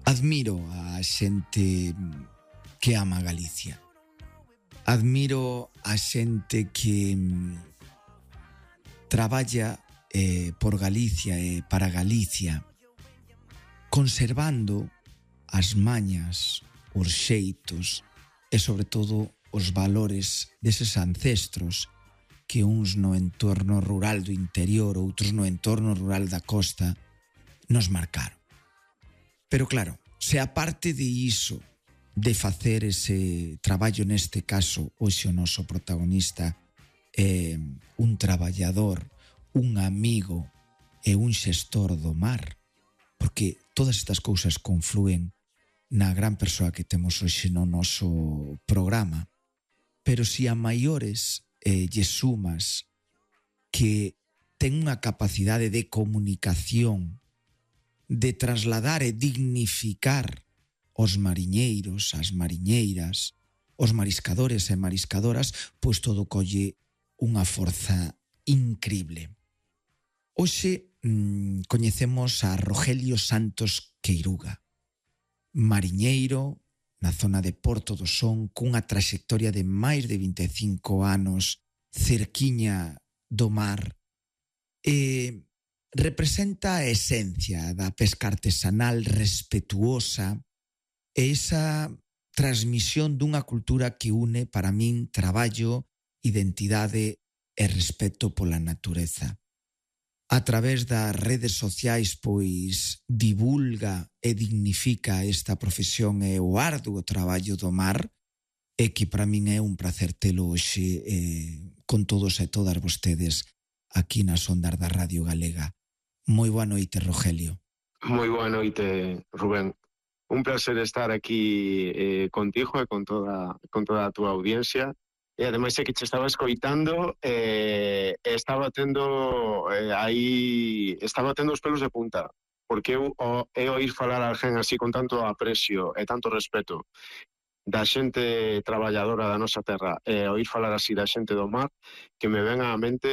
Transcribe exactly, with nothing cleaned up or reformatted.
Admiro a xente que ama Galicia. Admiro a xente que traballa eh, por Galicia e para Galicia, conservando as mañas, os xeitos e, sobre todo, os valores deses ancestros que uns no entorno rural do interior, outros no entorno rural da costa, nos marcaron. Pero claro, se aparte de iso, de facer ese traballo, neste caso, hoxe o noso protagonista é un traballador, un amigo e un xestor do mar, porque todas estas cousas conflúen na gran persoa que temos hoxe no noso programa. Pero si a maiores eh, lle sumas que ten unha capacidade de comunicación, de trasladar e dignificar os mariñeiros, as mariñeiras, os mariscadores e mariscadoras, pois todo colle unha forza incrible. Hoxe mmm, coñecemos a Rogelio Santos Queiruga, mariñeiro na zona de Porto do Son, cunha traxectoria de máis de vinte e cinco anos cerquiña do mar, e representa a esencia da pesca artesanal respetuosa e esa transmisión dunha cultura que une, para min, traballo, identidade e respeto pola natureza. A través das redes sociais, pois, divulga e dignifica esta profesión e o arduo traballo do mar, e que para min é un placer telo hoxe eh, con todos e todas vostedes aquí nas ondas da Radio Galega. Moi boa noite, Rogelio. Moi boa noite, Rubén. Un placer estar aquí eh, contigo e con toda, con toda a túa audiencia. E ademais é que te estaba escoitando e eh, estaba tendo eh, aí estaba tendo os pelos de punta, porque eu o, é oír falar a alguén así con tanto aprecio e tanto respeto da xente traballadora da nosa terra, e oír falar así da xente do mar, que me ven á mente